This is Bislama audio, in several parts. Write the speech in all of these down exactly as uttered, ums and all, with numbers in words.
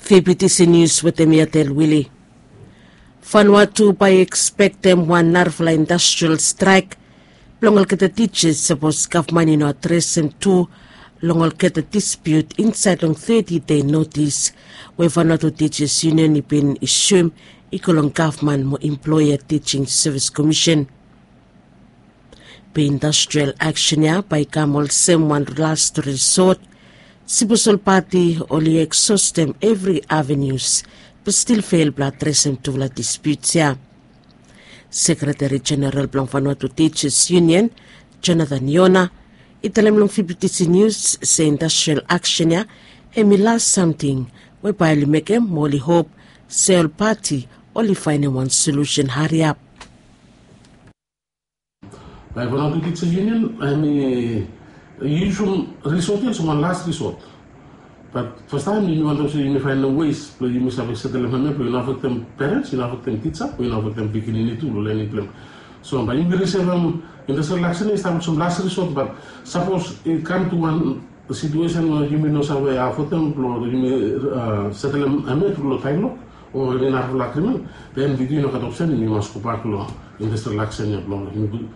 Febitisi nius wetem yatel wili. Vanuatu bae i ekspektem wan narafala industrial straek blong olgeta tijas sapos gavman i no adresem tu long olgeta dispiut insaed long teti dei notis we Vanuatu Tijas Yunion i bin isum i go long gavman mo emploea tijing sevis komisen. Be industrial aksen ya bae i kam olsem wan last risot. Sipos ol pati oli eksostem evri avenues be stil fel blong adresem tufala dispiuts ya. Sekreteri Jeneral blong Vanuatu Tijas Yunion, Jonathan Yona, i talem long Fibitisi Nius se industrial aksen ya hem i las samting we bae oli mekem mo oli hop se ol pati oli faenem wan solusen hariap. Bae Vanuatu Tijas Yunion hem i yusum risot ya olsem wan las risot. Bat fastaem yumi wantem se yumi faenem wes blong yumi save setelem hem ya blong i no afektem perens, i no afektem tija, blong i no afektem pikinini tu blong lenim blong hem. So bae yumi risevem industrial aksen ya i stap olsem las risot, bat sapos i kam tu wan situesen we yumi no save afodem blong yumi setelem hem ya tru long taem lok o eni narafala agrimen, den bitu i no gat opsen, yumi mas gobak long industrial aksen ya blong yumi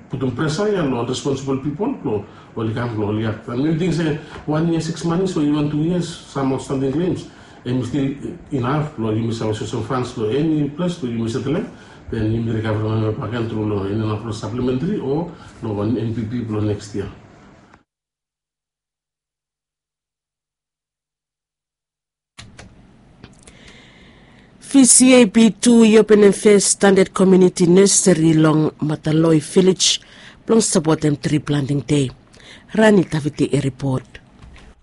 putum presa ya long responsibol pipol blong oli kam blong oli aktem. Mi ting se wan yia siks manis o iven tu yias sam aotstanding klems hem i stil inaf blong yumi save sosim fans long eni ples blong yumi setelem, den yumi rikaverem hem bakegen tru long eni narafala saplementri o long wan NPP blong neks yia. VCAP tu i openem fes standad komiuniti neseri long Mataloi Vilej blong sapotem tri planting dei. Rani Taviti i ripot.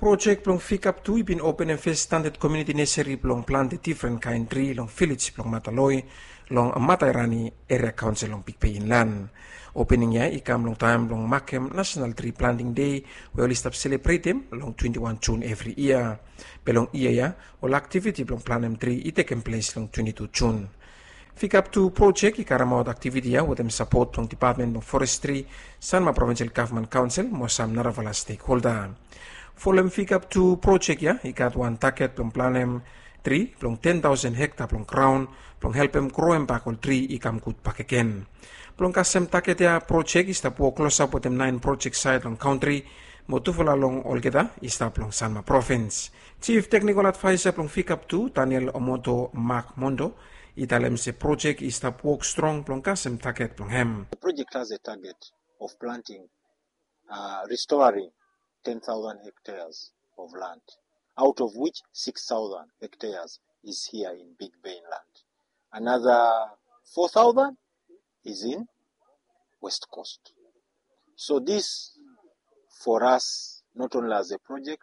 Projek blong VCAP tu i bin openem fes standad komiuniti neseri blong plante difren kaen tri long vilej blong Mataloi long Matairani Eria Kaonsel long Bigbei Inlan. Opening ya i kam long taem blong makem Nasenal Tri Planting Dei we oli stap selebretem long twenti wan Jun evri yia. Be long yia ya ol aktiviti blong planem tri i tekem ples long twenti tu Jun. VCAP tu projek i karemaot aktiviti ya wetem sapot blong Dipatmen blong Forestri, Sanma Provinsel Gavman Kaonsel mo sam narafala stekholda. Folem VCAP tu projek ya i gat wan taget blong planem tri blong ten taosen hekta blong graon blong helpem groem bak ol tri i kam gud bakegen. Blong kasem taget ya projek i stap wok klosap wetem naen projek saed long kantri mo tufala long olgeta i stap long Sanma Provins. Jif Teknikol Advaesa blong VCAP tu, Daniel Omoto Mak Mondo, i talem se projek i stap wok strong blong kasem taget blong hem. The project has a target of planting, uh, restoring ten thousand hectares of land, out of which six thousand hectares is here in Big Bay Inland. Another four thousand is in West Coast. So this, for us, not only as a project,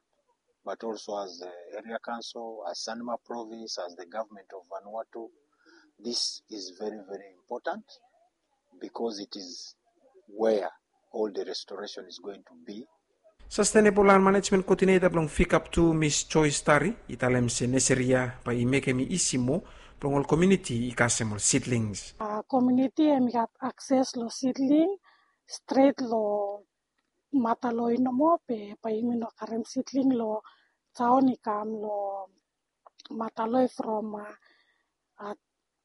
but also as the area council, as Sanma Province, as the government of Vanuatu, this is very, very important because it is where all the restoration is going to be. Sustainable Land Management Coordinator blong VCAP tu, Miss Joyce Tari, i talem se neseri ya bae i mekem i isi moa blong ol komiuniti i kasem ol seedlings. Komiuniti hem i gat akses long seedling stret long Mataloi nomo, be bae yumi no karem seedling long taon i kam long Mataloi from, uh, uh,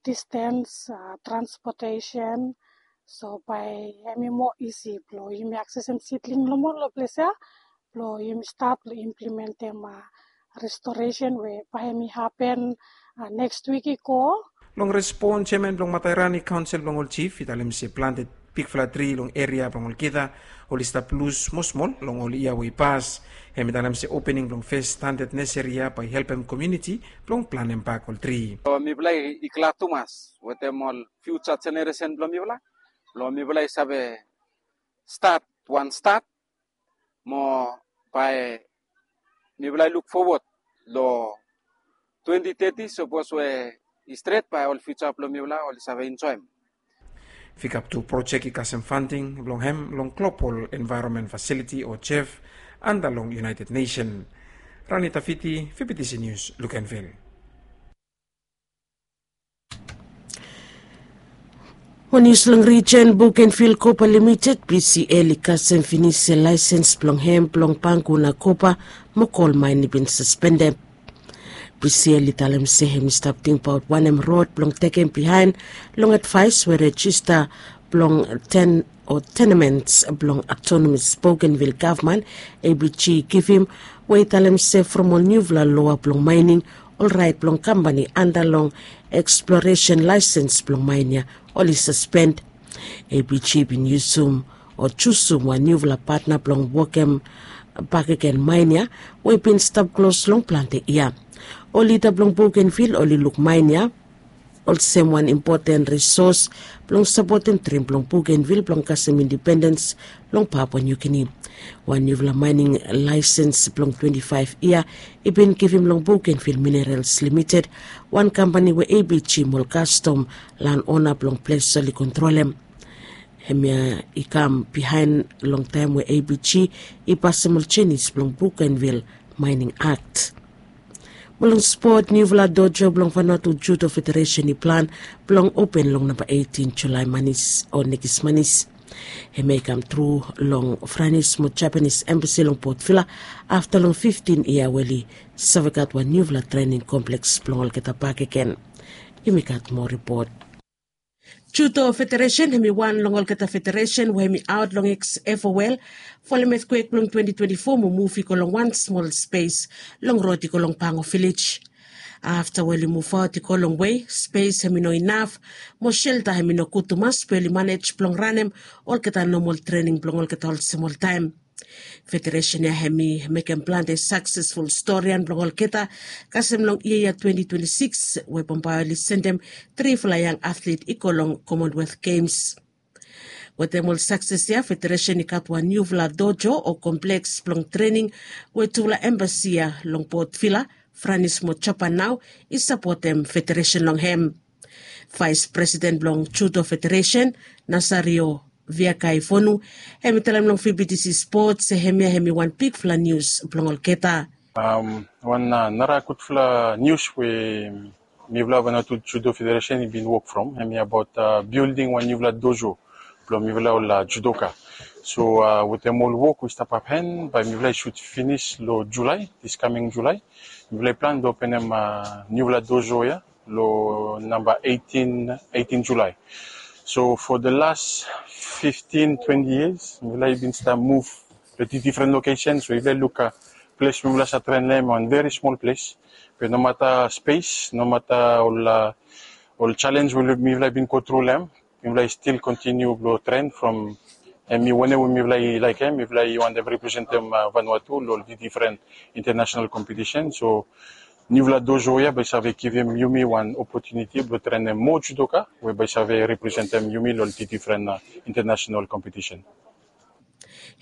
distance, uh, transportation. So bae hem i moa isi blong yumi aksesem seedling nomo long ples ya blong yumi stat blong implementem, uh, restoresen we bae hem i hapen, uh, neks wik i go. Long respon, jeaman blong Matairani Kaonsel blong ol jif i talem se plante bigfala tri long eria blong olgeta oli stap lus smosmol long ol yia we i pas. Hem i talem se opening blong fes standad neseri ya bae i helpem komiuniti blong planem bak ol tri. So mifala i glad tumas wetem ol fiuja jeneresen blong mifala blong mifala i save stat wan stat mo bae mifala i luk fowod long twenti teti sapos we i stret bae ol fiuja blong mifala oli save enjoem. VCAP tu projek i kasem fanding blong hem long Global Environment Facility o GEF anda long United Nation. Rani Tafiti, Fibitisi Nius, Luganville. Wan nius long rijen, Bougainville Copper Limited, BCL, i kasem finis se laesens blong hem blong panguna kopa mo kol maen i bin saspendem. Priscilla i talem se hem i stap tingbaot wanem rod blong tekem bihaen long advaes we rejista blong ten o tenements blong autonomous Bougainville gavman, A B G, i givim, we i talem se from ol niufala loa blong maening, ol raet blong kampani anda long eksploresen laesens blong maen ya oli saspen. A B G bin yusum o jusum wan niufala patna blong wokem bakegen maen ya we i bin stap klos long plante yia. Ol lida blong Bougainville oli luk maen ya olsem wan impoten risos blong sapotem drim blong Bougainville blong kasem indipendens long Papua New Guinea. Wan niufala maening laesens blong twenti faef yia i bin givim long Bougainville Minerals Limited, wan kampani we A B G mo ol kastom lanona blong ples oli kontrolem. Hemia i kam bihaen long taem we A B G i pasem ol jenis blong Bougainville Mining Act. Mo long spot, niufala dojo blong Vanuatu Judo Federation i plan blong open long namba eitin Julae manis o nekis manis. Hemia i kam tru long Franis mo Japanis embasi long Port Vila afta long fiftin yia we oli save gat wan niufala trening kompleks blong olgeta bakegen. Yumi gat moa ripot. Judo Federation hem i wan long olgeta federesen we hem i aot long eks F O L folem etkwek blong twenti twenti fo mo muv i go long wan smol spes long rod i go long Pango Vilej. Afta we oli muvaot i go longwe, spes hem i no inaf mo selta hem i no gud tumas be oli manej blong ranem olgeta nomol trening blong olgeta olsem oltaem. Federesen ya hem i mekem plante saksesful storian blong olgeta, kasem long yia ya twenti twenti sikis we bambae oli sendem trifala yang atlet i go long Commonwealth Games. Wetem ol sakses ya, federesen i gat wan niufala dojo o kompleks blong trening we tufala embasi ya long Port Vila, Franis mo Japan nao i sapotem federesen long hem. Vaes Presiden blong Judo Federesen, Nasario Viakaivonu, hem i talem long V B T C Spot se hemia hem i wan bigfala nius blong olgeta. Wan nara gudfala nius we mifala Vanuatu Judo Federesen i bin wok from hemia abaot bilding wan niufala dojo blong mifala ol judoka. So wetem ol wok we i stap hapen, bae mifala i sud finis long Julae, dis kaming Julae. Mifala i plan blong openem niufala dojo ya long namba eitin, eitin Julae. So for the last fiftin, twenti yias mifala i bin stap muv long difren lokesen. So mifala i luk ples we mifala save tren long hem, wan veri smol ples. Be nomata spes, nomata ol ol jalenj we mifala i bin go tru long hem, mifala i stil kontiniu blong tren from hem i wanem we mifala i laekem. Mifala i wantem representem Vanuatu long ol difren intanasenal kompetisen. So niufala dojo ya bae i save givim yumi wan opotuniti blong trenem moa judoka we bae i save representem yumi long ol difren intanasenal kompetisen.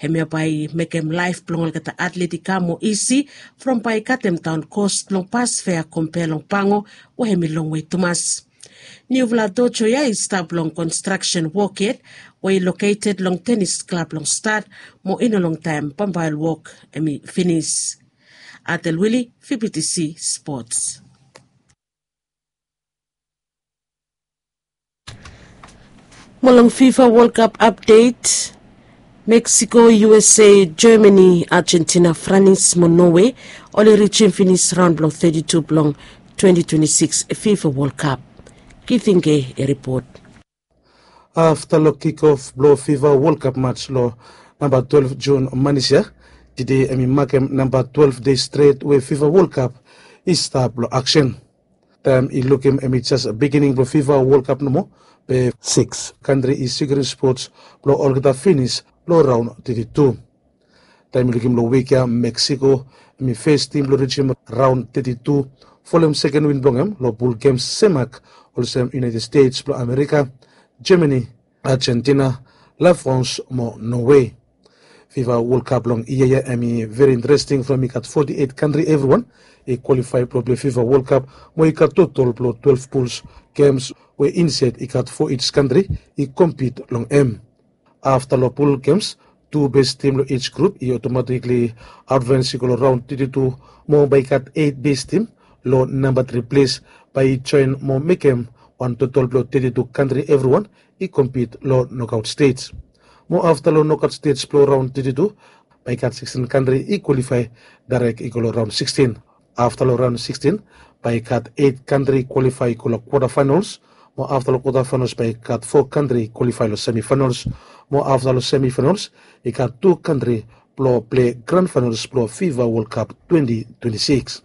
Hemia bae i mekem laef blong olgeta atlet i kam moa isi from bae i katem daon kos blong bas fea kompea long Pango we hem i longwe tumas. Niufala dojo ya i stap long konstraksen wok yet we i loketed long tenis klab long stat mo i no longtaem bambae ol wok hem i finis. Atel Wili, V B T C Spots. Mo long FIFA World Cup apdet, Mexico, U S A, Germany, Argentina, Franis mo Norway oli rijim finis raon blong teti tu blong twenti twenti sikis FIFA World Cup. Giting Gay i ripot. Afta long kikof blong FIFA World Cup mats long namba twelef Jun manis ya, tede hem i makem namba twelef dei stret we FIFA World Cup i stap long aksen. Taem i lukim hem i jes bigining blong FIFA World Cup nomo, be sikis kantri i sikurim spots blong olgeta finis long raon teti tu. Taem i lukim long wik ya, Meksiko hem i fes tim blong rijim raon teti tu folem seken win blong hem long pul gems semak olsem United States blong Amerika, Germany, Argentina, La France mo Norway. FIFA World Cup long yia ya hem i veri interesting from i gat foti eit kantri evriwan i kwalifae blong plei FIFA World Cup mo i gat totol blong twelef puls gems we insaed i gat fo ij kantri i kompit long hem. Afta long pul gems, tu bes tim long ij grup i otomatikli advens i go long raon teti tu mo bae i gat eit bes tim long namba tri ples bae i joen mo mekem wan totol blong teti tu kantri evriwan i kompit long nokaot stej. Mo afta long nokaot stej blong raon teti tu bae i gat sikstin kantri i kwalifae daerek i go long raon sikstin. Afta long raon sikstin, bae i gat eit kantri kwalifae i go long kwata faenols, mo afta long kwata faenols bae i gat fo kantri kwalifae long semi faenols, mo afta long semi faenols i gat tu kantri blong plei gran faenols blong fifa wol kap twenti twenti sikis.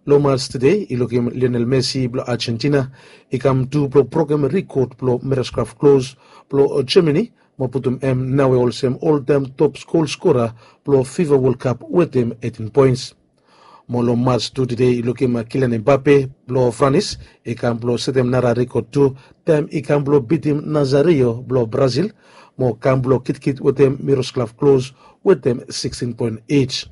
Long mats tude i lukim lionel messi blong argentina i kam tu blong brokem rikod blong meroskraf klos blong germany, mo putum em naoe olsem oltaem top gol skora blong fifa wol kap wetem eitin poens. Mo long mats tu tude i lukim kilian embape blong franis i kam blong setem nara rikod tu, taem i kam blong bitim nazario blong brazil, mo kam blong kitkit wetem meroskraf klos wetem sikstin poen ij.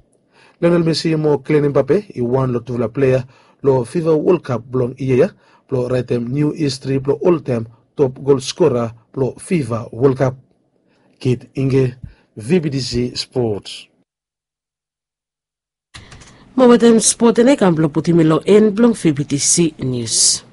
Lionel messi mo kilian embape i wan long tufala plea long fifa wol kap blong yia ya blong raetem niu histri blong oltaem top gol skora blong fifa wol kap. Kit inge, vbtc sports. Mo wetem spot ena i kam blong putim mi long en blong vbtc nius.